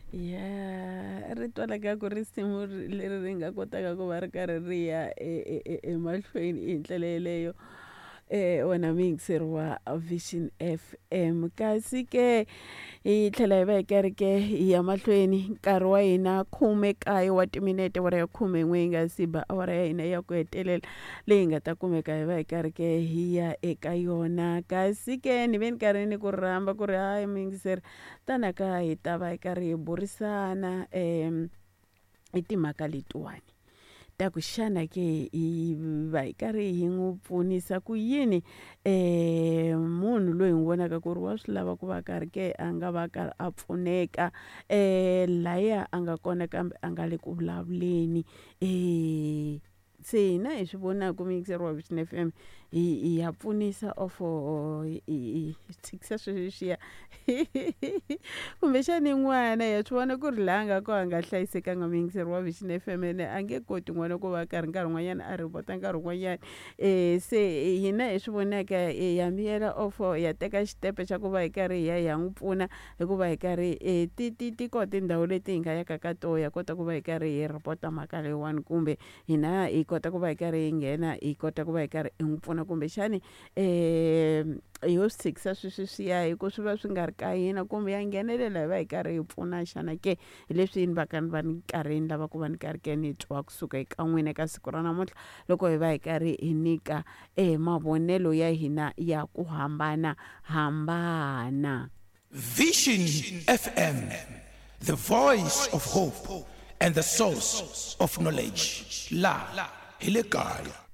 Ya ri twala ka ku risimu leri ri nga kotaka ku va ri karhi ri ya emahlweni hi ndlela yeleyo. Wena muyingiseri wa Vision FM kasi ke hi tlhela hi va hi karhi ke hi ya mahlweni nkarhi wa hina 19 wa timinete awara ya 11 yi nga si ba awara ya hina ya ku hetelela leyi nga ta kumeka hi va hi karhi ke hi ya eka yona. Kasi ke ni ve ni karhi ni ku rhamba ku ri hayi muyingiseri tana ka hi ta va hi karhi hi burisana hi timhaka letiwani ta ku xana ke hi va hi karhi hi n'wi pfunisa ku yini munhu loyi hi n'wi vonaka ku ri wa swi lava ku va karhi ke a nga va karhi a pfuneka laya a nga kona kambe a nga le ku vulavuleni. Se hina hi swi vonaka muyingiseri wa Vision FM hi ya pfunisa ofo hi tshikisa sweswiya kumbexani n'wana ya swi vona ku ri laha a nga kona a nga hlayisekanga muyingiseri wa Vision FM ene a nge koti n'wana ku va karhi nkarhi wun'wanyana a report-a nkarhi wun'wanyana. Se hina hi swi vonaka ya miyela ofo ya teka xitempe xa ku va hi karhi hi ya hi ya n'wi pfuna hikuva hi karhi ti ti ti kona tindhawu leti hi nga yaka ka toho ya kota ku va hi karhi hi report-a mhaka leyiwani kumbe hina hi kota ku va hi karhi hi nghena hi kota ku va hi karhi hi n'wi pfuna kumbexani ho swi tshikisa sweswiya hi ku swi va swi nga ri ka hina kumbe ya nghenelela hi va hi karhi hi pfuna xana ke. Hi leswi ni va ka ni va ni karhi ni lava ku va ni karhi ke ni twa kusuka eka n'wina eka siku ra namuntlha loko hi va hi karhi hi nyika mavonelo ya hina ya ku hambanahambana. Vision FM, the voice of hope and the source of knowledge. La hi le kaya.